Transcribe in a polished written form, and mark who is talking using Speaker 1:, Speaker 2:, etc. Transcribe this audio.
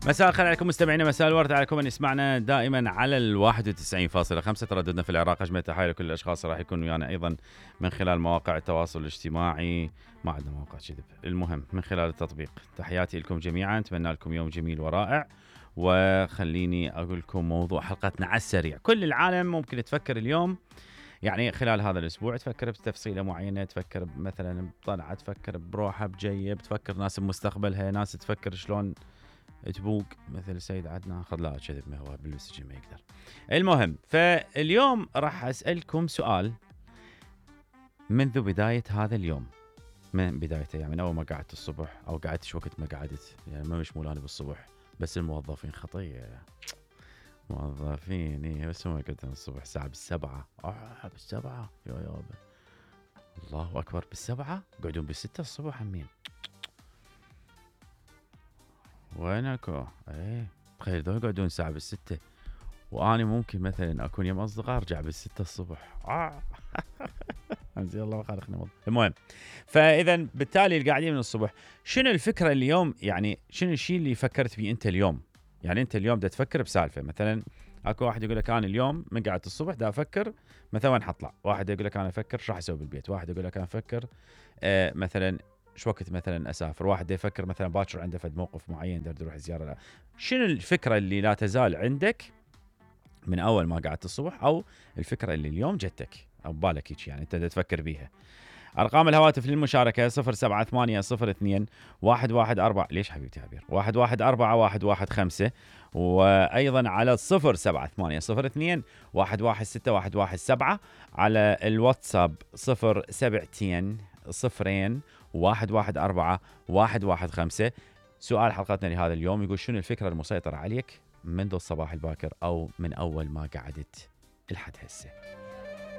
Speaker 1: مساء الخير عليكم مستمعينا، مساء الورد عليكم من يسمعنا دائما على 91.5. ترددنا في العراق. اجمل تحايا لكل الاشخاص راح يكونوا ويانا ايضا من خلال مواقع التواصل الاجتماعي. ما عندنا مواقع كذب، المهم من خلال التطبيق. تحياتي لكم جميعا، اتمنى لكم يوم جميل ورائع. وخليني اقول لكم موضوع حلقتنا على السريع. كل العالم ممكن تفكر اليوم، يعني خلال هذا الاسبوع تفكر بتفصيله معينه، تفكر مثلا بطلعه، تفكر بروحه بجيب، تفكر ناس بمستقبلها، ناس تفكر شلون تبوق مثل سيد عدنان. خذ لا كذب، ما هو بالسجن ما يقدر. المهم، فاليوم راح اسالكم سؤال منذ بدايه هذا اليوم، من بدايته يعني من اول ما قعدت الصبح، او قعدت شو وقت ما قعدت، يعني ما مش مولاني بالصبح، بس الموظفين خطيه. موظفين ايه، بس ما قلت الصبح الساعه بالسبعة. بالسبعة يا يابا، الله اكبر، بالسبعة قعدون بالستة الصبح همين. وينكو؟ ايه تخيل ذول يقعدون ساعة بالستة، واني ممكن مثلا اكون يوم اصدقاء ارجع بالستة الصبح. انزين الله ما خالقنا والله. المهم، فاذا بالتالي القاعدين من الصبح، شنو الفكرة اليوم؟ يعني شنو الشيء اللي فكرت فيه انت اليوم؟ يعني انت اليوم دا تفكر بسالفة، مثلا اكو واحد يقول لك انا اليوم من قعدت الصبح دا افكر مثلا وين حطلع، واحد يقول لك انا افكر شو راح اسوي بالبيت، واحد يقول لك انا افكر مثلا شو وقت مثلا اسافر، واحد يفكر مثلا باكر عنده فد موقف معين دا يروح زياره. لا. شنو الفكره اللي لا تزال عندك من اول ما قعدت الصبح، او الفكره اللي اليوم جتك او ببالك هيك يعني انت دا تفكر بيها؟ ارقام الهواتف للمشاركه 0780114. ليش حبيبتي عبير؟ 114 وايضا على 07802116117 على الواتساب 072002114. سؤال حلقتنا لهذا اليوم يقول شنو الفكره المسيطره عليك منذ الصباح الباكر او من اول ما قعدت لحد هسه؟